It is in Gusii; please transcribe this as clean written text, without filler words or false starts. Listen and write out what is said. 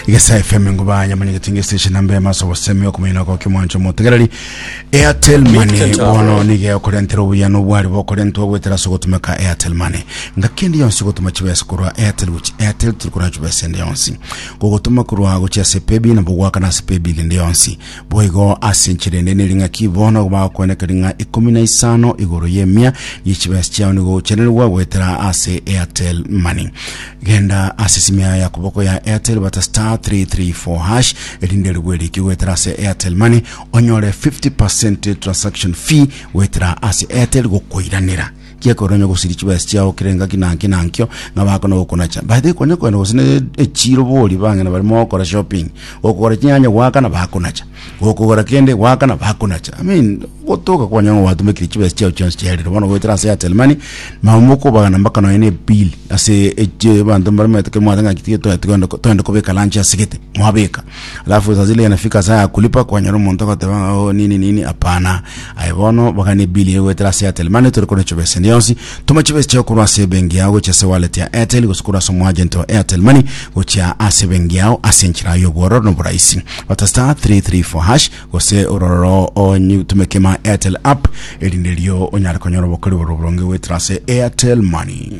Gesa FM nguba yamanyegete nge station namba emaso obosemi okomenya nako kimwancho motegereri Airtel Money bono nigo okorentera obuya n'obwari bokorentwa goetera ase ogotumeka Airtel Money. Ngaki ende yonsi gotuma chibesa korwa Airtel gochi Airtel tiri korwa chibesa ende yonsi. Gogotuma korwa gochia ase Paybill nabo goakana ase Paybill ende yonsi. Boigo ase enchera ende neri ng'aki bono bagokwenekeri ng'a ikomi na isano igoro y'emia ye chibesa chiao nigo ogochenerigwa goetera ase Airtel Money. Genda ase esimi yayo ya koboko ya Airtel bata star 334 hash erinde rigwe eriki goetera ase Airtel Money onyore 50% transaction fee goetera ase Airtel gokoiranera. Giekora onye gosiria chibesa chiao kera engaki na nkio na nkio ng'a bakona gokonacha. By the way konya kogenda gose ne echiro bori bang'ina baria mogokora shopping, gokogora chinyanya goakana bakonacha, gokogora kende goakana bakonacha. I mean gotoka kwanyora ng'a gwatumekire chibesa chiao chionsi chiarire bono goetera ase Airtel Money, mama mokobagana mpaka nonye na ebill ase echi abanto mbaramaete kero mwateba ng'aki tiga toe togende togende kobeka lunch ase gete, mwabeka. Alafu saa zile inafika saa ya kulipa kwanyora omonto agoteba ng'a oh nini nini hapana. Aye bono bagane ebill eye goetera ase Airtel Money tore korwa chibesa ende yonsi. Toma chibesa chiao korwa ase ebenki yao gochia ase wallet ya Airtel gose korwa ase omoagent wa Airtel Money gochia ase ebenki yao ase enchera y'obwororo na oboraisi. Bata star 334 hash gose ororo otumeke ma Airtel app erinde erio onyare konyora obokori bore oboronge goetera ase Airtel Money.